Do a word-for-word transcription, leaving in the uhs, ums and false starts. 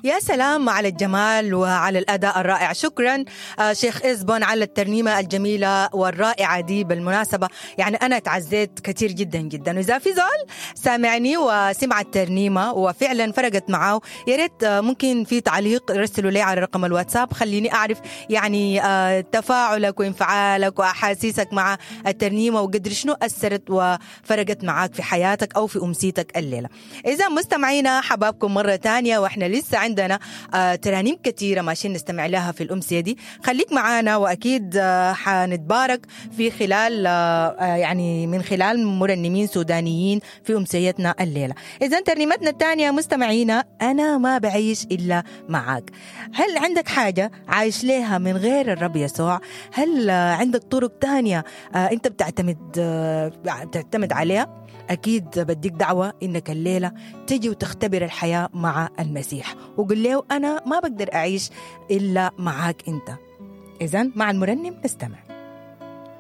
يا سلام على الجمال وعلى الأداء الرائع. شكرا شيخ إزبون على الترنيمة الجميلة والرائعة دي. بالمناسبة يعني أنا تعزيت كثير جدا جدا، وإذا في زول سامعني وسمع الترنيمة وفعلا فرقت معاه، يا ريت ممكن في تعليق رسلوا لي على رقم الواتساب، خليني أعرف يعني تفاعلك وانفعالك وأحاسيسك مع الترنيمة وقدر شنو أثرت وفرقت معاك في حياتك أو في أمسيتك الليلة. إذا مستمعينا حبابكم مرة تانية، وإحنا لسه عندنا ترانيم كثيرة ماشيين نستمع لها في الأمسية دي. خليك معانا وأكيد حنتبارك في خلال يعني من خلال مرنمين سودانيين في أمسيتنا الليلة. إذا ترنيمتنا الثانية مستمعينا، أنا ما بعيش إلا معاك. هل عندك حاجة عايش لها من غير الرب يسوع؟ هل عندك طرق تانية أنت بتعتمد بتعتمد عليها؟ أكيد بديك دعوة إنك الليلة تجي وتختبر الحياة مع المسيح، وقل له أنا ما بقدر أعيش إلا معاك أنت. إذن مع المرنم نستمع.